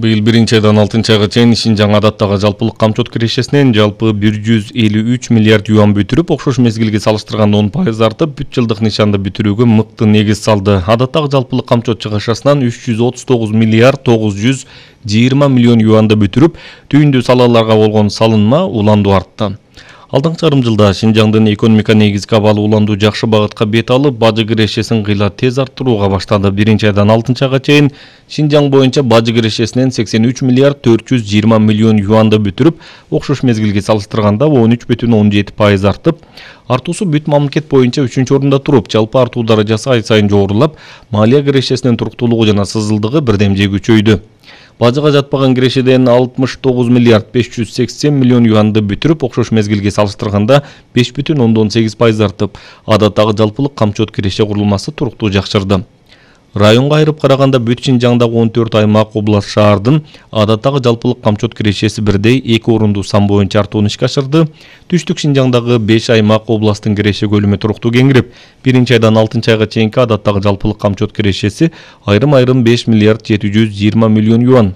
Быйыл 1-айдан 6-айга чейин Шинжаң адаттагы жалпылык камчот кирешесинен жалпы 153 миллиард юан бүтүрүп, окшош мезгилге салыштырганда 10% артып, бүт жылдык нишанды бүтүрүүгө мыкты негиз салды. Адаттагы жалпылык камчот чыгышасынан 339 миллиард 920 миллион юанды бүтүрүп, түйүндүү салаларга болгон салынма уланду артты. Алдыңкы жарым жылда Шинжаңдын экономика негизги абалы уланду жакшы багытка бет алып, бажы кирешесин кыйла тез арттырууга баштады. 1-айдан 6-айга чейин Шинжаң боюнча бажы кирешесинен 83 миллиард 420 миллион юанды бүтүрүп, окшош мезгилге салыштырганда 13,17% артып, артуусу бүт мамлекет боюнча 3-орунда туруп, жалпы артуу даражасы ай сайын жогорулап, малия кирешесинин туруктуулугу жана сызылдыгы бирдемже күчөйдү. Бажыга жатпаган кирешеден 69 миллиард 580 миллион юанды бүтүрүп, окшош мезгилге салыштырганда 5,8% артып, адаттагы жалпылык камчот киреше курулмасы туруктуу жакшырды. Районго айырып караганда бүт Шинжаңдагы 14 аймак, область, шаардын адаттагы жалпылык камчот кирешеси бирдей 2 орунду сан боюнча артууну ишке ашырды. Түштүк Шинжаңдагы 5 аймак, областтын киреше көлүмү туруктуу кеңирип, 1-айдан 6-айга чейинки адаттагы жалпылык камчот кирешеси айрым-айрым 5 миллиард 720 миллион юан,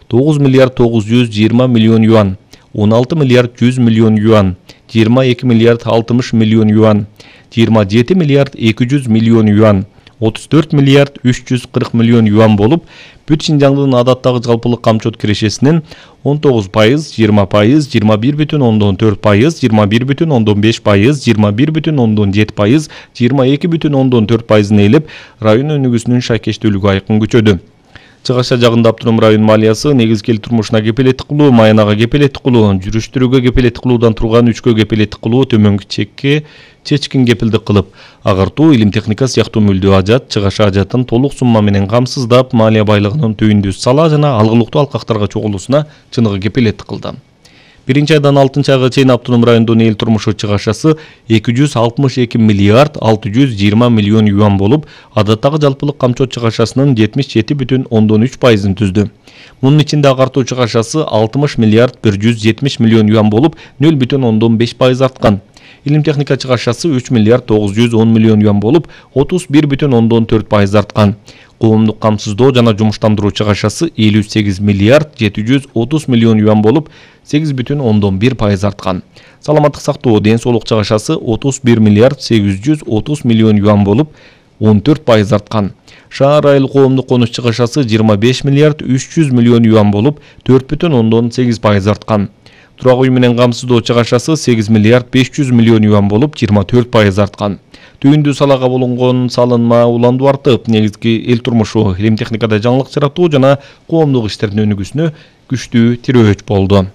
9 миллиард 920 миллион юан, 16 миллиард 100 миллион юан, 22 миллиард 60 миллион юан, 27 миллиард 200 миллион юан, 34 миллиард 340 миллион юан болуп, бүт Шинжаңдын адаттагы жалпылык камчот кирешесинен 19%, 20%, 21,4%, 21,5%, 21,7%, 22,4% ээлеп, район өнүгүүсүнүн шайкештүүлүгү айкын күчөдү. Чыгаша жагында автоном район малиясы негизги эл турмушуна кепилеттик кылуу, маянага кепилеттик кылуу, жүрүштүрүүгө кепилеттик кылуудан турган 3кө кепилеттик кылуу, төмөнкү чекке чечкин кепилдик кылып, агартуу, илим техника сыяктуу мүлдүү ажат, чыгаша ажатын толук сумма менен камсыздап, малия байлыгынын түйүндүү сала жана алгылыктуу алкактарга чогулуусуна чыныгы кепилеттик кылды. 1-айдан 6-айга чейин автоном райондун эл турмушу чыгашасы 262 миллиард 620 миллион юан болуп, адаттагы жалпылык камчот чыгашасынын 77,3%-ын түздү. Мунун ичинде агартуу чыгашасы 60 миллиард 170 миллион юан болуп, 0,5% арткан. Илим техника чыгашасы 3 миллиард 910 миллион юан болуп, 31,4% арткан. Коомдук камсыздоо жана жумуштандыруу чыгашасы 58 миллиард 730 миллион юан болуп, 8,1% арткан. Саламаттык сактоо, ден соолук чыгашасы 31 миллиард 830 миллион юан болуп, 14% арткан. Шаар айыл коомдук конуш чыгашасы 25 миллиард 300 миллион юан болуп, 4,8% арткан. Турак үй менен камсыздоо чыгашасы 8 миллиард 500 миллион юан болуп, 24% арткан. Түйүндүү салага болгон салынма уланду артып, негизги эл турмушу, илим техникада жаңылык жаратуу жана коомдук иштердин өнүгүүсүнө күчтүү тирөөч болду.